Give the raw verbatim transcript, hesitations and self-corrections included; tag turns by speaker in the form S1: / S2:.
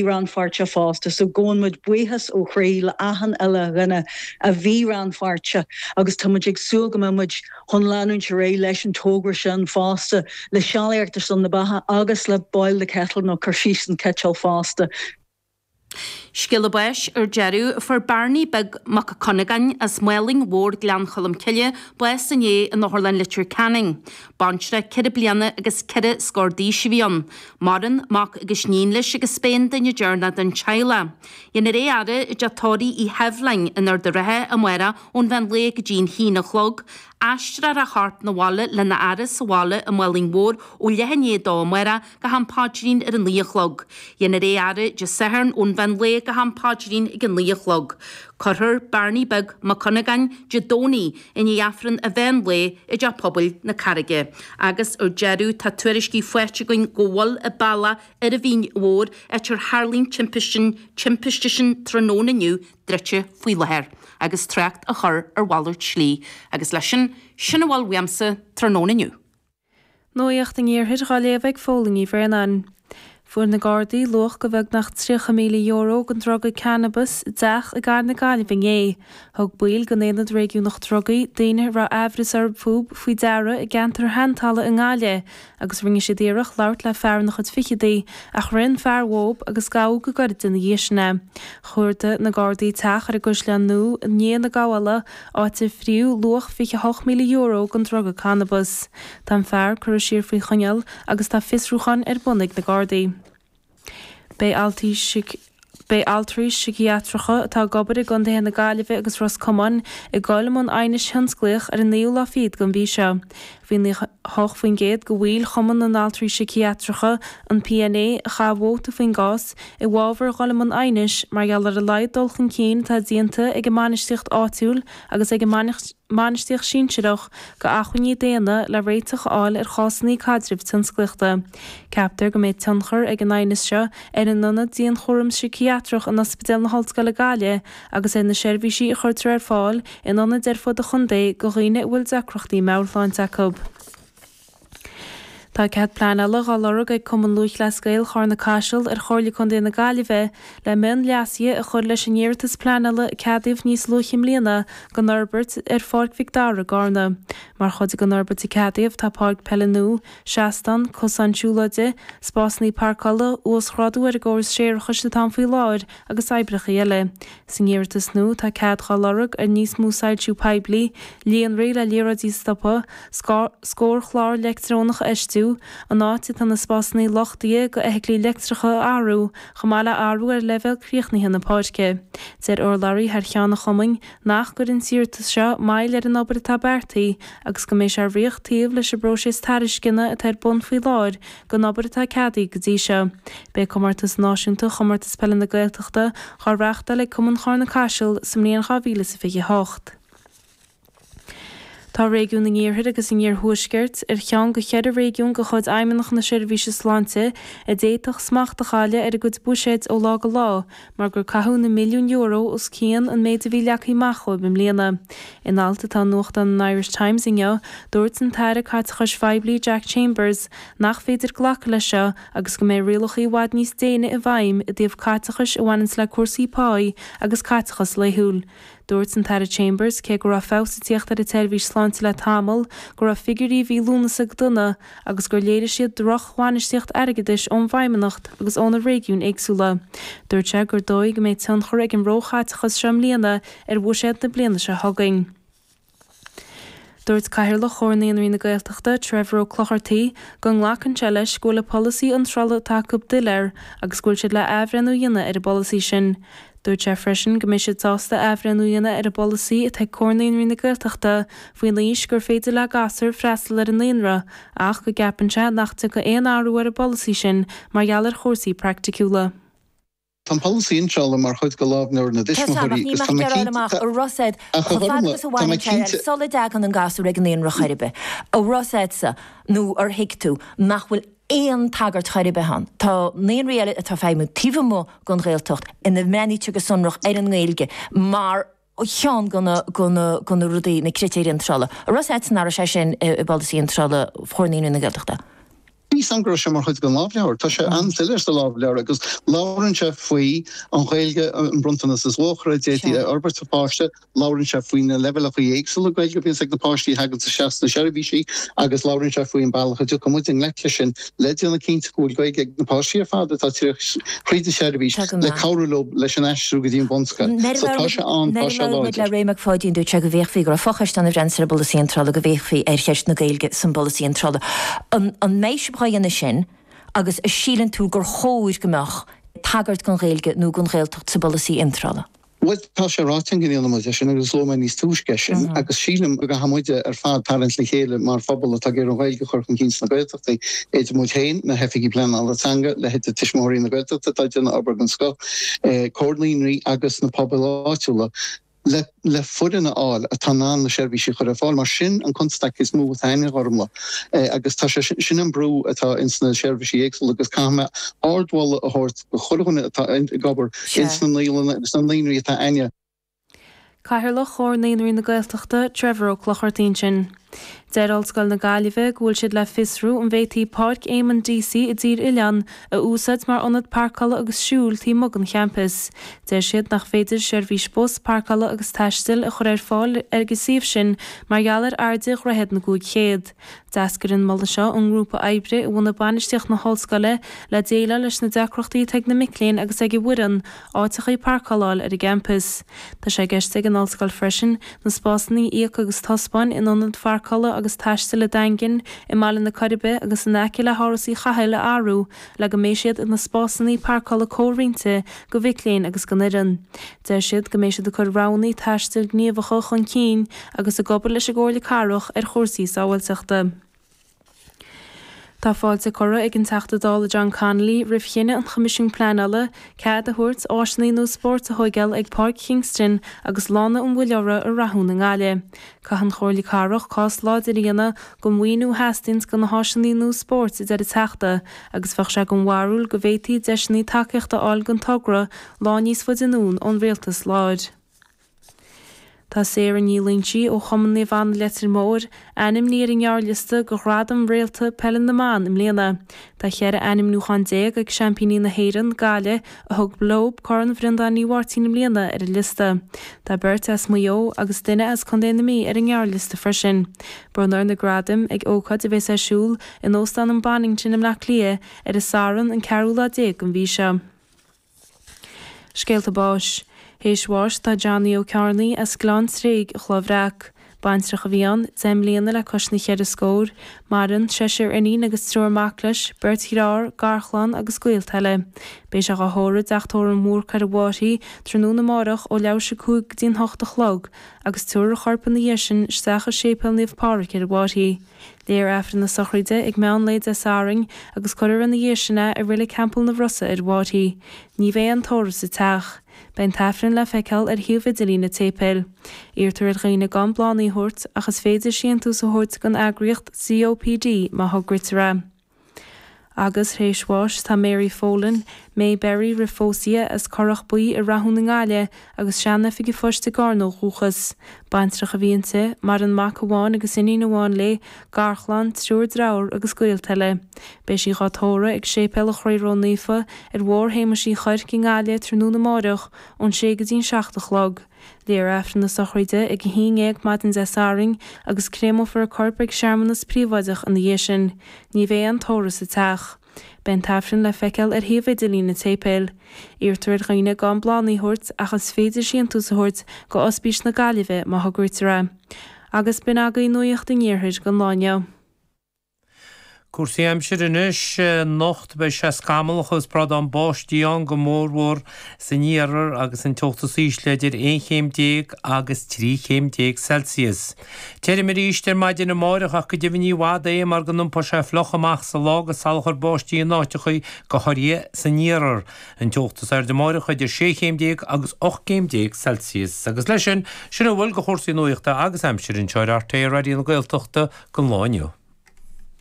S1: rannpháirteach fosta, so gabhann muid buíochas ó chroí le achan uile dhuine a bhí rannpháirteach agus tá muid ag súil go mbeidh muid chun leanúint ar aghaidh leis an togra sin fosta le sealaíocht ar son na beatha agus le boil the kettle nó cur síos an citeal fosta.
S2: Scéala báis ar deireadh fuair Barney Beag Mac Cunagáin as Málainn Mhór Gleann Cholm Cille bás inné in Otharlann Leitir Ceanainn. Baintreach ceithre bliana agus ceithre scór d'aois a bhí ann. Maireann mac agus iníon leis agus b'é an duine deireanach den teaghlach. Dhéanfar é a fhaire i dteach tórraimh Uí Sheibhleáin in Ard an Rátha amárach ón mheán lae go dtí an haon a chlog. Aistreofar a chorp 'na bhaile lena fhaire sa bhaile i Málainn Mhór ó leath i ndiaidh a dó amárach go ham paidrín ar a naoi a chlog. Dhéanfar é a fhaire Dé Sathairn ón mheán lae go ham paidrín ag a naoi a chlog. Cuirfear Barney Beag Mac Cunagáin Dé Domhnaigh i ndiaidh Aifreann an mheán lae i dteach pobail na Carraige. Agus ar deireadh tá tuairiscí faighte againn go bhfuil an bealach ar an Mhín Mhór áit ar tharla an timpiste timpiste sin tráthnóna inniu druidte faoi láthair, agus trácht á chur ar mhalairt slí, agus leis sin sin a bhfuil uaimse tráthnóna inniu.
S3: Nuacht an Iarthair á léamh ag Fódhla Ní Bhraonáin. Fuair na Gardaí luach go bheagnach tríocha míle euro den druga cannabis i dteach i gCathair na Gaillimhe inné. Thug baill den Aonad Réigiúnach Drugaí daoine a raibh aimhreas orthu faoi deara i gceantar Sheantalamh i nGaillimh, agus rinne siad iarracht labhairt le fear ina chuid fichidí ach rith an fear uathu agus gabhadh go gairid ina dhiaidh sin é. Chuardaigh na Gardaí teach ar an gCaisleán Nua i ndiaidh na gabhála áit ar fríodh luach fiche hocht míle euro den druga cannabis. Tá an fear curtha siar faoi choinneáil agus tá fiosrúchán ar bun ag na Gardaí. Beidh altraí Beidh altraí síciatracha atá ag obair i gcontaetha na Gaillimhe agus Ros Comáin ag dul i mbun aighnis thionsclaíoch ar an naoú lá fichead den mhí seo. Bhí nócha hocht faoin gcéad de bhaill Chumann na nAltraí Síciatracha an PNA a chaith vóta faoin gcás i bhfabhar dhul i mbun aighnis mar gheall ar a laghad dul chun cinn atá déanta ag an mbainistíocht áitiúil agus ag an mbainistíocht sinsearach go acmhainní daonna le réiteach a fháil ar chásanna caidrimh tionsclaíochta. Ceaptar go mbeidh tionchar ag an aighneas seo ar an ionad dianchúram síciatrach in Ospidéal na hOllscoile Gaillimh agus ar na seirbhísí a chuirtear ar fáil in ionaid ar fud an chontae do dhaoine a bhfuil deacrachtaí meabhairshláinte acu. Tá cead pleanála á lorg ag Cumann Lúthchleas Gael Charna Caiseal ar Chomhairle Contae na Gaillimhe le mionleasuithe a chur leis an iarratas pleanála a ceadaíodh níos luaithe i mbliana don fhorbairt ar Pháirc Mhic Dara i gCarna. Mar chuid den fhorbairt a ceadaíodh tá páirc peile nua, seastán, cosán siúlóide, spásanna páirceála, uasghrádú ar an gcóras séarachais atá ann faoi láthair agus oibreacha eile. San iarratas nua tá cead á lorg ar níos mó soilsiú poiblí, líonraí le liathróidí stoptha, scórchlár leictreonach a fheistiú, an áit atá na spásanna luchtaithe do fheithiclí leictreacha a athrú, chomh maith le athrú ar leibhéal críochnaithe na páirce. Deir urlabhraí thar cheann an chumainn nach gcuireann an t-iarratas seo moill ar an obair atá beartaithe agus go mbeidh sé ag rith taobh leis an bpróiseas tairisceana atá ar bun faoi láthair don obair atá ceadaithe go dtí seo. Beidh comórtas náisiúnta chomórtas peile na Gaeltachta á reáchtáil ag Cumann Charna Caiseal sa mbliain dhá mhíle is a fiche hocht. Tá réigiún an Iarthair agus an Iarthuaiscirt ar cheann de cheithre réigiún de chuid Fheidhmeannacht na Seirbhíse Sláinte a d'fhéadfadh smacht a chailleadh ar a gcuid buiséid ó lá go lá, mar gur caitheadh na milliúin euro os cionn an méid a bhí leagtha amach dóibh i mbliana. In alt atá i nuachtán an Irish Times inniu, dúirt an tAire Caiteachais Phoiblí Jack Chambers nach féidir glacadh leis seo agus go mbeidh rialacha i bhfad níos déine i bhfeidhm i dtaobh caiteachais a bhaineann le cúrsaí páí agus caiteachas laethúil. Dúirt an tAire Chambers cé go raibh feabhas ag teacht ar an tseirbhís sláinte le tamall, go raibh figiúirí mhí Lúnasa go dona agus gur léirigh siad drochbhainistíocht airgeadais ón bhFeidhmeannacht agus ó na réigiúin éagsúla. Dúirt sé gur dóigh go mbeidh tionchar ag an róchaiteachas seo i mbliana ar bhuiséad na bliana seo chugainn. Dúirt Cathaoirleach Chomhar Naíonraí na Gaeltachta, Trevor Ó Clochartaigh, go nglacann sé leis go bhfuil an polasaí iontrála atá acu doiléir agus go bhfuil siad le athbhreithniú a dhéanamh ar an bpolasaí sin. Dúirt sé freisin go mbeidh siad sásta athbhreithniú a dhéanamh ar an bpolasaí atá ag Comhar Naíonraí na Gaeltachta faoin aois gur féidir le gasúir freastal ar an naíonra, ach go gceapann sé nach dtiocfaidh aon athrú ar an bpolasaí sin mar gheall ar chúrsaí praiticiúla.
S4: Tá an polasaí iontrála mar chuid de lámhleabhar na dtuismitheoirí agus tá mé cinnte
S5: An raibh siad chomh fada agus a bhaineann sé sula dtagann an gasúr ag an naíonra chor ar bith. An raibh siadsa nó ar thuig tú nach bhfuil aon tagairt chor ar bith ann. Tá naíonraí eile atá feidhmiú taobh amuigh den Ghaeltacht ina mbreathnaítear go sonrach ar an nGaeilge mar cheann de na de na de na rudaí na critéir iontrála. An raibh siadsan nach raibh sé sin i bpolasaí iontrála Chomhar Naíonraí na Gaeltachta.
S4: Ní san go raibh sé mar chuid den lámhleabhar. Tá sé an-soiléir sa lámhleabhar agus labhrann sé faoi an Ghaeilge an bronntanas is luachmhaire a d'fhéadfaí a fhorbairt do pháiste, labhrann sé faoi na leibhéalacha éagsúla Gaeilge a bhíonns ag na páistí a thagann isteach sna seirbhísí agus labhrann sé faoin bealach a dtiocfaidh muid i ngleic leis sin le déanamh cinnte go bhfuil Gaeilge ag na páistí ar fad atá tríd an tseirbhís le cabhrú leo leis an aistriú go dtí an bhunscoil. So tá sé ann, tá sé láidir.
S5: Le Ray Mac Pháidín dúirt sé go bhféachfaí go raibh focheist ann a bhreathnas ar an bpolasaí iontrála go bhféachfaí ar cheist na Gaeilge san bpolasaí iontrála. An mbeidh sibh dhá dhéanamh sin agus a síleann tú gur chóir go mbeadh tagairt don Ghaeilge nó don Ghaeltacht sa bpolasaí iontrála?
S4: Bhuel, tá sé ráite go ndéanfaidh muid é sin agus luaigh mé níos túisce é sin agus sílim go gcaithfidh muide ar fad tarraingt le chéile mar phobal atá ag iarraidh an Ghaeilge a chur chun cinn sna Gaeltachtaí, idir muid féin, na hoifigigh pleanála teanga, leithéidí Tuismitheoirí na Gaeltachta atá ag déanamh obair den scoth, Comhar Naíonraí agus na pobail áitiúla. le le foireann a fháil atá in ann na seirbhísí a chur ar fáil, mar sin an constaic is mó atá ann, a Ghormlaith, agus tá sé sin an brú atá ins na seirbhísí éagsúla agus caithfidh mé ardmholadh a thabhairt do chuile dhuine atá ag obair ins na naíolanna agus na naíonraí atá againne.
S3: Cathaoirleach Chomhar Naíonraí na Gaeltachta, Trevor Ó Clochartaigh ansin. Deir Ollscoil na Gaillimhe go bhfuil siad le fiosrú an bhféadfaí Páirc Éamonn Deacy i dTír Oileáin a úsáid mar ionad páirceála agus siúil taobh amuigh den champas. Deir siad nach féidir seirbhís bus, páirceála agus taistil a chur ar fáil ar an suíomh sin mar gheall ar airde Dhroichead na gCúig Chéad. D'eascair an moladh seo ón ngrúpa oibre a bhunaigh bainistíocht na hollscoile le déileáil leis na deacrachtaí atá ag na mic léinn agus ag an bhfoireann áiteachaí páirceála a fháil ar an gcampas. Tá sé i gceist ag an ollscoil freisin na spásanna íoc agus taispeáin in ionad pháirceála agus taistil an Daingin, i mBaile na Coiribe agus in aice le hÁras Uí Chathail a athrú le go mbeidh siad ina spásanna páirceála comhroinnte do mhic léinn agus don fhoireann. Deir siad go mbeidh siad ag cur roghanna taistil gníomhacha chun cinn agus ag obair leis an gComhairle Cathrach ar chúrsaí sábháilteachta. Tá fáilte curtha ag an Teachta Dála John Connolly roimh chinneadh an Choimisiúin Pleanála cead a thabhairt áiseanna nua spóirt a thóigeáil ag Páirc Kingston agus Lána an Mhuilleora i Rathún i nGaillimh. Caithfidh an Chomhairle Cathrach cás láidir a dhéanamh don mhaoiniú a theastaíonns do na háiseanna nua spóirt, a deir an Teachta, agus bheadh sé den bharúil go bhféadfaí deiseanna tacaíochta a fháil don togra lá níos faide anonn ón rialtas láir. Tá Sarah Ní Loingsigh ó Chumann Naomh Anna Leitir Móir ainmnithe ar an ngearrliosta do Ghradam Réalta Peile na mBan i mbliana. Tá cheithre ainmniúchán déag ag seaimpíní na hÉireann, Gaillimh, a thug leo Corn Bhreandáin Uí Mháirtín i mbliana, ar an liosta. Tá beirt as Maigh Eo agus duine as Contae na Mí ar an ngearrliosta freisin. Bronnfar na gradaim ag ócáid a bheas ar siúl in Óstán an Bonnington i mBleá Cliath ar an Satharn an ceathrú lá déag den mhí seo. Scéalta báis. Théis bháis tá Johnny Ó Cearnaigh as Gleann Tréig, Cloich Bhreac. Baintreach a bhí ann, deich mbliana le cois na cheithre scór. Maireann seisear iníon agus triúr mac leis, beirt dhearthár, garchlann agus gaolta eile. Beidh sé dhá thórramh i dTeach Tórraimh Mhúrc ar an bhFairche tráthnóna amárach ó leathuair tar éis a cúig go dtí an hocht a chlog agus tabharfar a chorp ina dhiaidh sin isteach i Séipéal Naomh Pádraig ar an bhFairche. Léifear Aifreann na sochraide ag meán lae Dé Sathairn agus cuirfear ina dhiaidh sin é i Reilig Theampall na Rosa ar an bhFairche. Ní bheidh aon tórramh sa teach. Beidh an t-aifreann le feiceáil ar shuíomh idirlín an tséipéil. Iarrtar ar dhaoine gan bláthanna a thabhairt ach is féidir síntiús a thabhairt don eagraíocht COPD má thograítear é. Agus théis bháis tá Mary Folan, May Berry roimh phósadh di, as Currach Buí i Rathún i nGaillimh agus sean-oifig an phoist i gCarna ó dhúchas. Baintreach a bhí inti, maireann mac amháin agus iníon amháin léi, garchlann, triúr dearthár agus gaolta eile. Beidh sí dhá tórramh ag Séipéal an Chroí Ró-Naofa ar Bhóthar Shéamais Uí Chuirc i nGaillimh tráthnóna amáireach ón sé go dtí'n seacht a chlog. Léifear Aifreann na sochraide ag a haon dhéag maidin Dé Sathairn agus créamófar a corp ag searmanas príobháideach ina dhiaidh sin. Ní bheidh aon tórramh sa teach. Beidh an t-aifreann le feiceáil ar shuíomh idirlín an tséipéil. Iarrtar ar dhaoine gan bláthanna a thabhairt ach is féidir síntiús a thabhairt go Ospís na Gaillimhe má thograítear é. Agus b'in agaibh Nuacht an Iarthair don lá inniu.
S6: Cúrsaí aimsire anois, Anocht beidh sé scamallach agus brádán báistí ann go mórmhór san iarthar agus an teocht is ísle idir aon chéim déag agus trí chéim déag Celsius. Tirim arís ar maidin amáireach ach go deimhin ní i bhfad é mar go n-iompóidh sé fliuch amach sa lá agus salachar báistí in áiteachaí, go háirithe san iarthar. An teocht is airde amáireach idir sé chéim déag agus ocht gcéim déag Celsius. Agus leis sin, sin a bhfuil de chúrsaí nuachta agus aimsire anseo ar RTÉ Raidió na Gaeltachta don lá inniu.